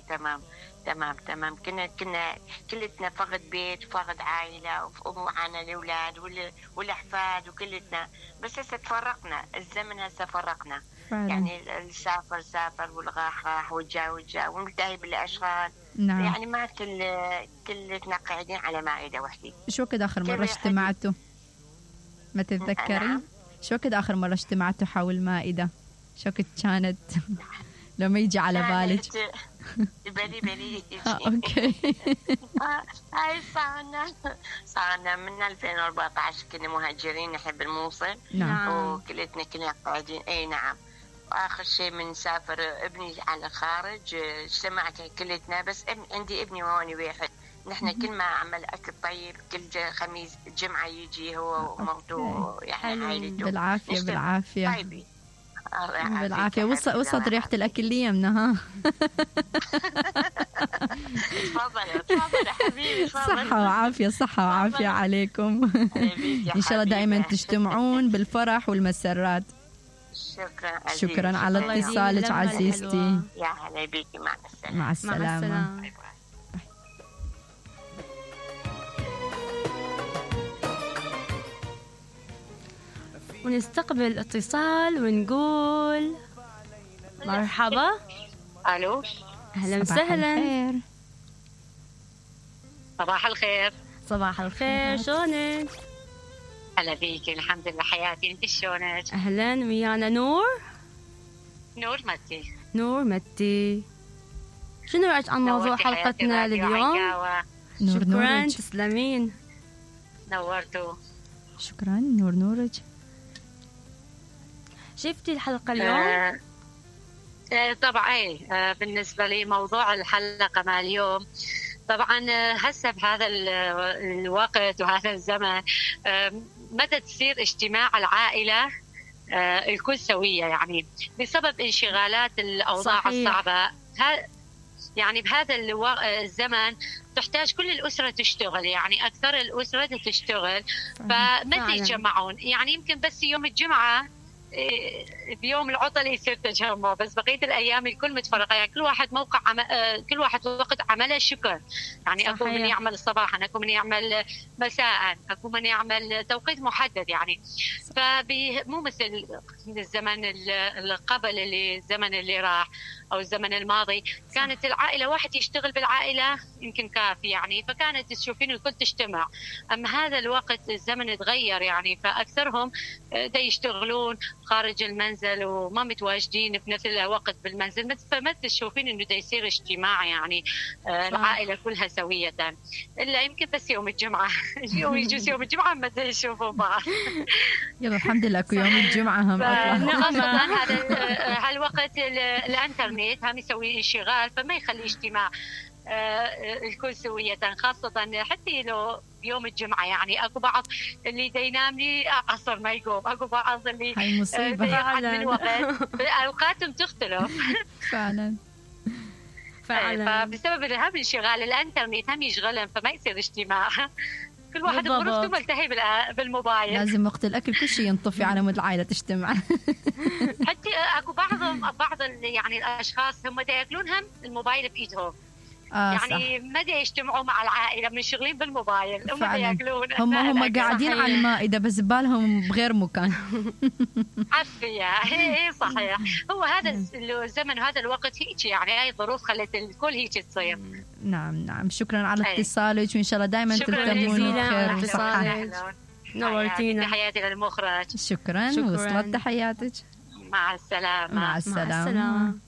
تمام. تمام. كنا كلتنا فقد بيت، فقد عائلة، ومعنا الأولاد والأحفاد وكلتنا. بس هسه تفرقنا، الزمن هسه فرقنا فعلا. يعني سافر والغاح والجا ونلتهي بالأشغال. نعم. يعني ما كلتنا قاعدين على مائدة وحدة. شو وقت آخر مرة اجتمعتوا؟ ما تتذكرين؟ شو وقت آخر مرة اجتمعتوا حول مائدة؟ شو وقت كانت؟ لو ما يجي على بالك. بلي اوكي. هاي صارنا من 2014 كنا مهاجرين نحب الموصل. نعم. وكلتنا كنا قاعدين. اي نعم. واخر شيء من سافر ابني على الخارج اجتمعت كلتنا. بس عندي ابني هون واحد. نحن كل ما عمل اكل طيب كل خميس جمعه يجي هو ومرته يعني عائلته. بالعافيه. طيبين. بالعافية. وصلت ريحة الأكل لي يمنا. ها. تفضل حبيبي. صحة وعافية عليكم. إن شاء الله دائما تجتمعون بالفرح والمسرات. شكرا على اتصالك عزيزتي. يا هلا بيكي. مع السلامة. ونستقبل اتصال ونقول مرحبا. الو. اهلا وسهلا. صباح الخير. صباح الخير. شلونك؟ هلا بيكي. الحمد لله حياتي. انت شلونك؟ اهلا. ويانا نور متي. شنو رايك عن موضوع حلقتنا لليوم؟ شكرا. تسلمين. نورتوا. شكرا. نورج. شفتي الحلقة اليوم؟ طبعا. بالنسبة لي موضوع الحلقة مع اليوم طبعا هسه بهذا الوقت وهذا الزمن متى تصير اجتماع العائلة الكل سوية يعني بسبب انشغالات الأوضاع صحيح. الصعبة. يعني بهذا الزمن تحتاج كل الأسرة تشتغل. يعني أكثر الأسرة تشتغل فمتى يتجمعون. يعني يمكن بس يوم الجمعة بيوم العطل يصير تجمع. بس بقيه الايام الكل متفرقه. يعني كل واحد كل واحد وقت عمله شكل. يعني صحيح. اكو من يعمل صباحا، اكو من يعمل مساء، اكو من يعمل توقيت محدد. يعني مو مثل الزمن اللي قبل الزمن اللي راح او الزمن الماضي. كانت العائله واحد يشتغل بالعائله يمكن كافي يعني. فكانت تشوفين الكل تجتمع. اما هذا الوقت الزمن تغير يعني. فاكثرهم دا يشتغلون خارج المنزل وما متواجدين بنفس الوقت بالمنزل. فما تشوفين انه دا يصير اجتماع يعني العائله كلها سويه. الا يمكن بس يوم الجمعه. يجوز يوم الجمعه ما يشوفون بعض. يلا الحمد لله يوم الجمعه هم اصلا هذا الوقت الانترنت هم يسوي انشغال فما يخلي اجتماع الكل سوية. خاصة حتى لو يوم الجمعة يعني أكو بعض اللي ينام لي عصر ما يقوم. أكو بعض اللي يقعد من وقت. أوقاتهم تختلف. فعلا. فبسبب هم انشغال الانترنت هم يشغلهم فما يصير اجتماع. كل واحد بغرفته ملتهي بالموبايل. لازم وقت الأكل كل شيء ينطفي على مود العائلة تجتمع. حتى أكو بعض يعني الأشخاص هم دا يأكلون هم الموبايل بإيدهم. يعني ما دا يجتمعوا مع العائلة منشغلين بالموبايل. هم دا يأكلون. هم قاعدين على المائدة بس بالهم بغير مكان. عافية. هي صحيح. هو هذا الزمن وهذا الوقت هيك يعني. هاي الظروف خلت الكل هيك تصير. نعم. شكرا على اتصالك وإن شاء الله دائما تلتمون بخير وصحة. نورتينا. تحياتي للمخرج. شكرا. وصلت تحياتك. مع السلامة. مع السلامة.